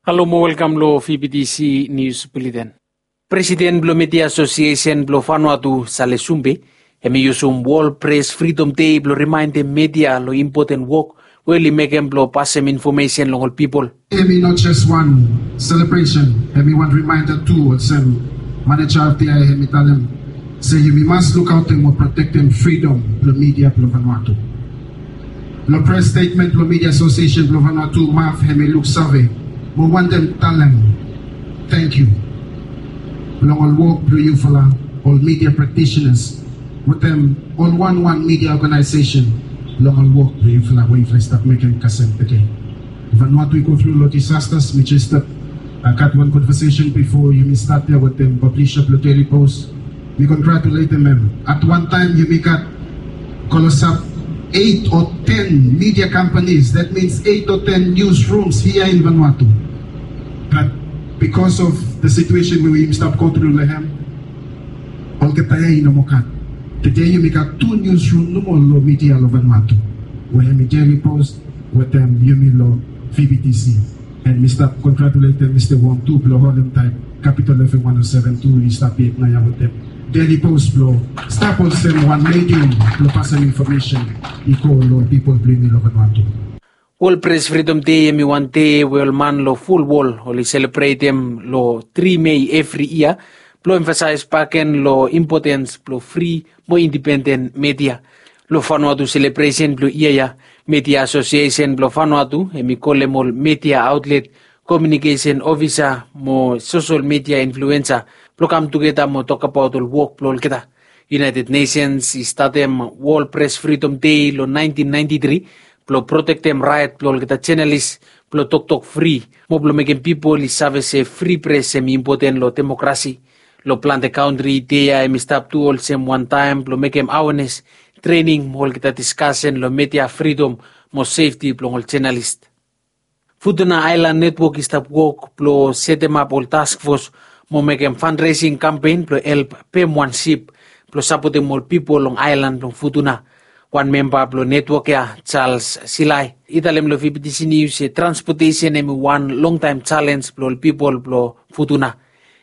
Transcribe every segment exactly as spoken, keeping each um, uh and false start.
Halo mo welkam long V B T C Nius Buleten. Presiden blong Media Asosiesen blong Vanuatu, Sale Sumbe, hem i yusum Wol Pres Fridom Dei blong rimaendem media long impoten wok we oli mekem blong pasem infomesen long ol pipol. Hem i no jes wan selebresen, hem i wan rimaenda tu, olsem maneja blong F T I hem i talem se yumi mas lukaotem o protektem fridom blong media blong Vanuatu. Long pres stetmen blong Media Asosiesen blong Vanuatu, MAF, hem i luksave mo wantem talem tangkiu long ol wok blong yufala, ol media praktisenas, wetem ol wanwan media oganaesesen, long ol wok blong yufala we yufala i stap mekem kasem tede. Vanuatu i go tru long disastas. Mi jes stap gat wan konvasesen bifo yumi stat ya wetem pablisa blong Daily Post. Mi kongratuletem hem. At wan taem yumi gat klosap eit o ten media companies, that means eit o ten newsrooms hia in Vanuatu. But because of the situation we yumi stap go tru long hem, olgeta ya i no moa gat. Tede yumi gat tu newsroom nomo long media long Vanuatu, we hem i Daily Post wetem yumi long V B T C. And mi stap kongratuletem Mista Wong tu blong holem taet Capital F M one oh seven tu i stap yet naoia wetem Daily Post blong stap olsem wan medium blong pasem infomesen i go long pipol blong yumi long Vanuatu. Wol Pres Fridom Dei hem i wan dei we ol man long ful wol oli selebretem long tri Mei evri yia blong emfasaes bakegen long impotens blong fri mo indipenden media. Long Vanuatu selebresen blong yia ya, Media Asosiesen blong Vanuatu hem i kolem ol media aotlet, komiunikesen ofisa mo sosel media influensa blong kam tugeta mo tokbaot ol wok blong olgeta. United Nations i statem Wol Pres Fridom Dei long naentin naenti tri blong protektem raet blong olgeta jenalis blong toktok fri mo blong mekem pipol i save se fri pres hem i impoten long demokrasi. Long plante kantri, dei ya hem i stap tu olsem wan taem blong mekem awenes, trening mo olgeta diskasen long media fridom mo sefti blong ol jenalis. Futuna Aelan Netwok i stap wok blong setemap ol taskfos mo mekem fandresing kampen blong help pem wan sip blong sapotem ol pipol long aelan blong Futuna. Wan memba blong netwok ya, Charles Silai, i talem long V B T C Nius se transpotesen hem i wan longtaem jalenj blong ol pipol blong Futuna.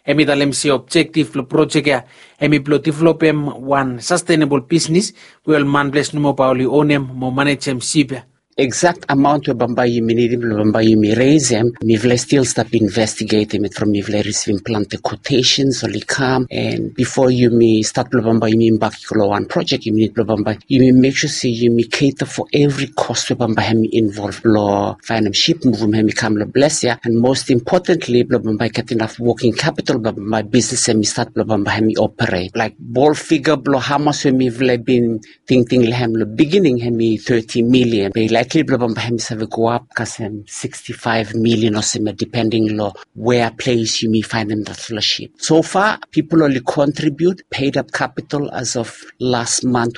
Hem i talem se objektif blong projek ya hem i blong developem wan sastenebol bisnis we ol manples nomo bae oli onem mo manejem sip ya. Eksakt amaon we bambae yumi nidim blong bambae yumi resem, mifala i stil stap investigetem yet from mifala i risivim plante kwotesens oli kam, and bifo yumi stat blong bambae yumi bak i go long wan projek, yumi nid blong bambae yumi mek sua se yumi keta fo evri kos we bambae hem i involv blong faenem sip, muvum hem i kam long ples ya, and most importantly blong bambae i gat inaf woking kapital blong bambae bisnis hem i stat blong bambae hem i operet. Laek bol figa blong hamas we mifala i bin tingting long hem long bigining hem i thirty million, be i laekli blong bambae hem i save go ap kasem sixty-five million olsem ya, depending long wea ples yumi faenem datfala sip. So far pipol oli kontribiut, paid up capital as of last month,